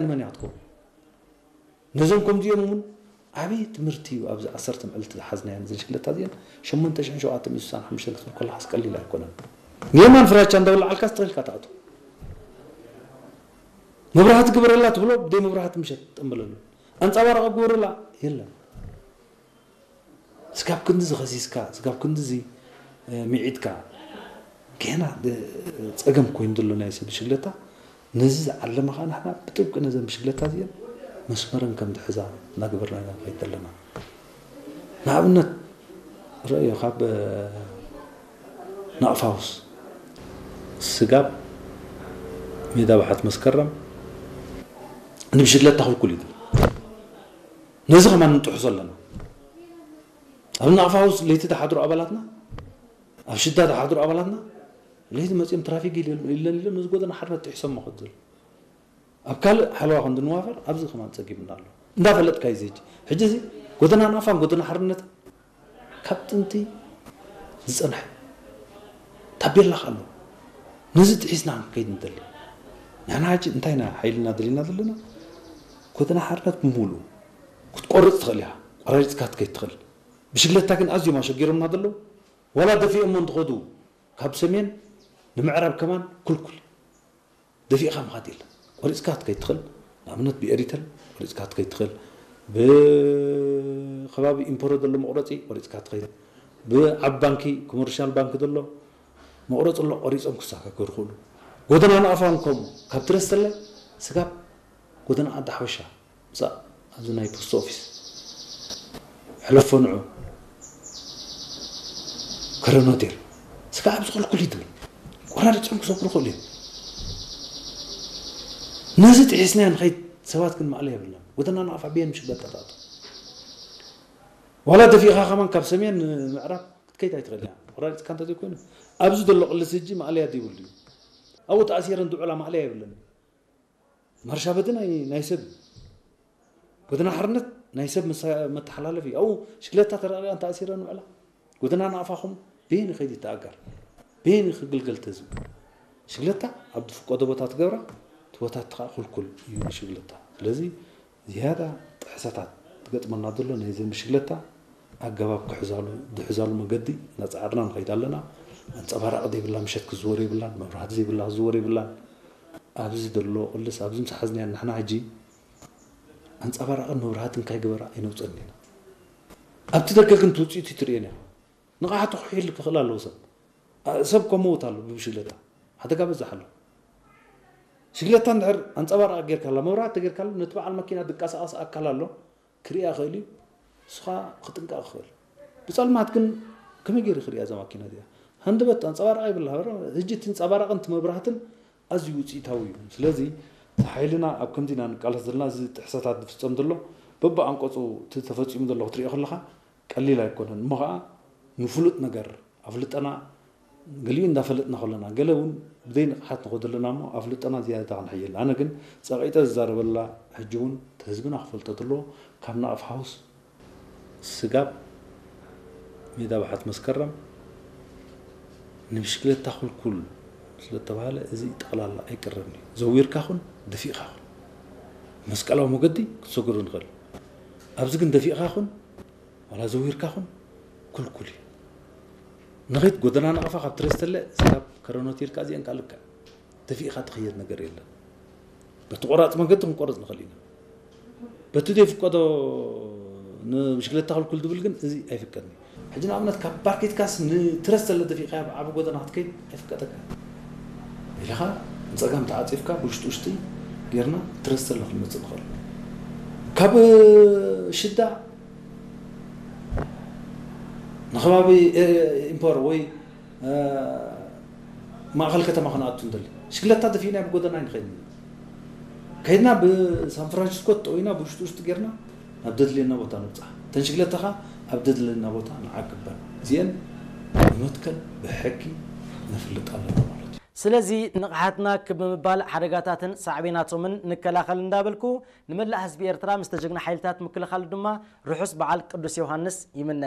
ንመን እያ ክትከውን? ነዞም ከምዚኦም እውን ዓብዪ ትምህርቲ እዩ። ኣብዚ ዓሰርተ መዓልቲ ዝሓዝናየን እዘን ሽግለታ እዚአን ሸሞንተ ሽሕን ሸውዓተ ሚእትን ስሳን ሓሙሽተን ክትብል ከለኻስ ቀሊል ኣይኮነን። ንየማን ፍራቻ እንዳበላዓልካስ ትኽልካ ትኣቱ። መብራህቲ ግበረላ ትብሎ፣ ብደይ መብራህቲ ምሸት ትጠምበለሉ። ኣንጸባራቂ ግበረላ የለን። ስጋብ ክንድዚ ኸሲስካ፣ ስጋብ ክንድዚ ሚዒጥካ፣ ገና ጸገም ኮይኑ ዘሎ ናይ ሰብ ሽግለታ። ነዚ ዝዓለመ ኸዓ ንሕና ብጥብቂ ነዘን ብሽግለታ እዚአን መስመረን ከም ዝሕዛ እናገበርና ኢና ንኸይድ ዘለና። ንኣብነት ረእዮ፣ ካብ ናቕፋውስ ስጋብ ሜዳ ባሓት መስከረም ንብሽግለታ ክልኩል እዩ። ነዚ ከማን ንጥሕሶ ኣለና። ኣብ ናቕፋውስ ለይቲ ዝሓድሩ ኣባላትና፣ ኣብ ሽዳ ዝሓድሩ ኣባላትና ለይቲ መፂኦም ትራፊክ ኢለን ኢለን ነዚ ጎደና ሓርነት ጥሒሶም መኸት ዘሎ። ኣብ ካልእ ሓለዋ ክንዲ ንዋፈር ኣብዚ ከማን ፀጊምና ኣሎ። እንዳፈለጥካ እዩ እዚ። ሕጂ እዚ ጎደና ናቕፋን ጎደና ሓርነት ካብ ጥንቲ ዝፀንሐ ታቤላ ኣሎ። ነዚ ጥሒስና ከይድ ንደሊ። ንሕና ሕጂ እንታይ ኢና ሓይልና ደሊና ዘለና? ጎደና ሓርነት ብምሉእ ክትቆርፅ ትኽእል ኢኻ። ቆራሪፅካ ትከይድ ትኽእል። ብሽግለታ ግን ኣዝዮም ኣሸጊሮምና ዘለዉ። ዋላ ደፊኦሞ እንትኸዱ ካብ ሰሜን ንምዕራብ ከማን ኩልኩል። ደፊእኻ ምኻድ የለን። ቆሪፅካ ክትከይድ ትኽእል። ንኣብነት ብኤሪተል ቆሪፅካ ክትከይድ ትኽእል። ብከባቢ ኢምፖሮ ዘሎ መቑረፂ ቆሪፅካ ትኸይድ። ብዓብ ባንኪ፣ ኮመርሻል ባንኪ ዘሎ መቑረፂ ኣሎ፣ ቆሪፆም ክሳካከሩ ይኽእሉ። ጎደና ንኣፋን ከምኡ ካብ ትረስተለ ስጋብ ጎደና ዓዲ ሓበሻ ምሳእ ኣብዚ ናይ ፖስት ኦፊስ ሕለፎ ንዑ ከረን ሆቴል ስጋብ ኣብዚ ክልኩል እዩ ትብል። ቆራሪፆም ክሰብሩ ይኽእሉ እዮም። ነዚ ጥሒስና ንኸይድ። ሰባት ግን ማእለያ የብልናን። ጎደና ንኣፋ ብየን ምሽግለታ ትኣቱ። ዋላ ደፊእኻ ከማን ካብ ሰሜን ንምዕራብ ክትከይድ ኣይትኽእል እያ። ቆራሪፅካ እንተዘይኮይኑ ኣብዚ ዘሎ ቅልስ ሕጂ ማእለያ ዘይብሉ እዩ። ኣብኡ ተኣሲረን ዝውዕላ ማእለያ የብለን። ማርሻ በቲ ናይ ናይ ሰብ እዩ። ጎደና ሓርነት ናይ ሰብ መሳ- መተሓላለፊ እዩ። ኣብኡ ሽግለታ ተረቂቐን ተኣሲረን ውዕላ። ጎደና ንኣፋኹም በየን ይኸይድ ይተኣገር? በየን ክግልገል ተዝብ? ሽግለታ ኣብ ዝፍቀዶ ቦታ ትገብራ፣ እቲ ቦታ እቲ ከዓ ኩልኩል እዩ ንሽግለታ። ስለዚ ዝያዳ ጥሕሰታት ትገጥመና ዘሎ ናይ ዘን ብሽግለታ ኣገባብ ክሕዛሉ ዝሕዛሉ መገዲ እናፀዓርና ንኸይድ ኣለና። ኣንፀባራቂ ዘይብላ ምሸት ክዝወር የብላን፣ መብራህቲ ዘይብላ ክዝወር የብላን። ኣብዚ ዘሎ ቅልስ ኣብዚ ምስ ሓዝናያ ንሕና ሕጂ ኣንፀባራቅን መብራህትን ካይገበራ ኣይነውፀን ኢና። ኣብቲ ደገ ግን ትውፅኢቱ ትርእየን ኢኻ። ንቕሓቱ ክሕይል ክኽእል ኣለዎ ሰብ። ኣ- ሰብ ከመውት ኣሎ ብብሽግለታ ሓደጋ በዛሕ ኣሎ። ሽግለታ እንድሕር ኣንፀባራቂ ጌርካላ መብራህቲ ተጌርካሉ ነቲ በዓል መኪና ዝንቀሳቐስ ኣካል ኣሎ ክርእያ ይኽእል እዩ። ንስኻ ክጥንቀቕ ክኽእል። ብፀልማት ግን ከመይ ገይሩ ክርእያ እዛ ማኪና እዚኣ? ሃንደበት ኣንፀባራቂ ይብላ ሕጂ እቲ ኣንፀባራቅን እቲ መብራህትን ኣዝዩ ውፅኢታዊ እዩ። ስለዚ እቲ ሓይልና ኣብ ከምዚ ኢና ንቃለስ ዘለና። እዚ ጥሕሰታት ዝፍፀም ዘሎ በብኣንቀፁ እቲ ተፈፂሙ ዘሎ ክትሪኦ ከለኻ ቀሊል ኣይኮነን። እሞ ከዓ ንፍሉጥ ነገር ኣፍልጠና ገሊኡ እንዳፈለጥና ከለና ገለ እውን ብዘይ ንቕሓት ንኸዶ ኣለና እሞ ኣፍልጠና ዝያዳ ክንሕይል። ኣነ ግን ፀቂጠ ዝዛረበላ ሕጂ እውን እቲ ህዝብና ክፈልጦ ዘለዎ ካብ ናቕፍ ሓውስ ስጋብ ሜዳ ባሓት መስከረም ንብሽክለታ ኩልኩል ስለተባሃለ እዚ ጠቕላላ ኣይቅረብን እዩ። ዘዊርካ ኹን ደፊእካ ኹን መስቀላዊ መገዲ ክትሰግሩ ንኽእል። ኣብዚ ግን ደፊእካ ኹን ዋላ ዘዊርካ ኹን ኩልኩል እዩ። ንኺድ ጎደና ናቕፋ ካብ ትረስተለ ስጋብ ከረኖት ኢልካ እዚአን ካልካ ደፊእካ ትኽየድ ነገር የለን። በቲ ቆራፅ መገዲ ክንቆርፅ ንኽእል ኢና። በቲ ዘይፍቀዶ ንብሽክለታ ክልኩል ዝብል ግን እዚ ኣይፍቀድን እዩ። ሕጂ ንኣብነት ካብ ፓርክ ኢትካስ ንትረስ ዘለ ደፊእካ ኣብ ዓቢ ጎደና ክትከይድ ኣይፍቀደካ። ኢልኻ ንፀጋም ተዓፂፍካ ብውሽጢ ውሽጢ ጌርና ትረስ ዘለ ክንመፅእ ንኽእል። ካብ ሽዳ ንከባቢ ኢምፖር ወይ ማእኸል ከተማ ክንኣቱ ንደሊ ሽግለታ ደፊእና ብጎደና ኣይንኸይድን። ከይድና ብሳን ፍራንሲስኮ ተጠዊና ብውሽጢ ውሽጢ ጌርና ናብ ደድልየና ቦታ ንብፃሕ። እተን ሽግለታ ኸዓ ኣብ ደድልየና ቦታ ንዓቅበን። እዚአን ብመትከል ብሕጊ ነፍልጥ ኣለና ማለት እዩ። ስለዚ ንቕሓትና ክብ ብምባል ሓደጋታትን ሳዕቤናቶምን ንከላኸል እንዳበልኩ ንመላእ ህዝቢ ኤርትራ ምስ ተጀግና ሓይልታት ምክልኻሉ ድማ ርሑስ በዓል ቅዱስ ዮሃንስ ይምነ።